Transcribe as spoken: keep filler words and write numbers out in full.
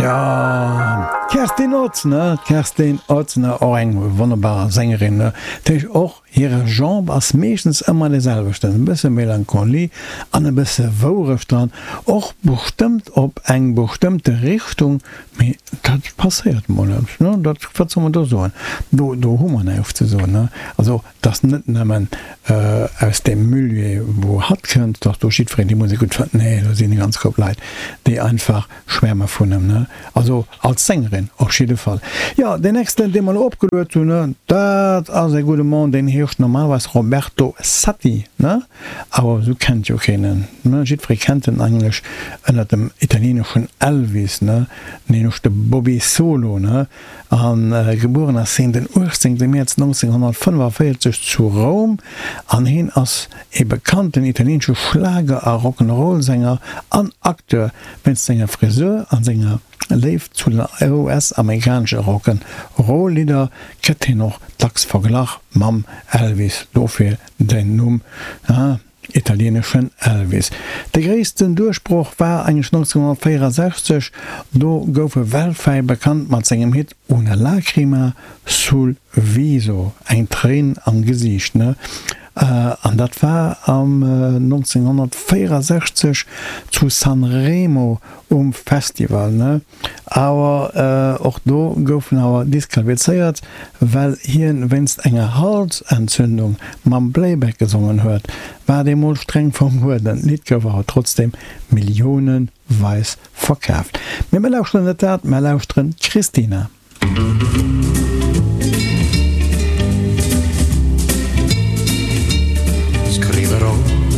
Tja, d'Kerstin Ott, ne? D'Kerstin Ott, ne? Och eng wonnerbar Sängerin, ne? Dat heescht, och hire Genre ass meeschtens ëmmer dee selwechten, e bësse Melancholie an e bësse Wourecht dran, och bestëmmt op eng bestëmmte Richtung, mee dat passéiert mol net, ne? Dat, wat soll mer do soen? Do, do hu mer näischt ze soen, ne? Also, 't ass net nëmmen aus deem Milieu, wou hatt kënnt, dass do jiddwereen déi Musek gutt fënnt. Nee, do sinn e ganz Koup Leit, déi einfach schwäerme vun em, ne? Also als Sängerin op jidde Fall. Jo, deen nächsten, dee mer elo opgeluet hunn, ne, dat ass e gudde Mann, deen heescht normalerweis Roberto Satti, ne? Awer esou kennt jo keen en, ne? Jiddweree kennt en eigentlech ënnert dem italieeneschen Elvis, ne? Nämlech de Bobby Solo, ne? A gebueren ass hien den uechtzéngte Mäerz nonzénghonnertfënnefaféierzeg zu Roum an hien ass ee bekannten italieenesche Schlager a Rock'n'Roll-Sänger an Acteur. Wéinst senger Frisur a senger Léift zu den U S-amerikanesche Rock'n'Roll-Lidder gëtt hien och dacks verglach mam Elvis, dofir den Numm. Italieneschen Elvis. De gréissten Duerchbroch war eigentlech nonzénghonnertvéierasechzeg, do gouf e weltwäit bekannt mat sengem Hit Una lacrima sul viso, eng Tréin am Gesiicht, ne? An dat war am nonzénghonnertvéierasechzeg zu Sanremo um Festival, ne? Awer och do gouf en awer disqualifizéiert, well hien wéinst enger Halsentzündung mam Playback gesongen huet. War deemools streng verbueden. D'Lidd gouf awer trotzdem milliouneweis verkaaft. Mee mir lauschteren net dat, mer lauschteren d'Christina.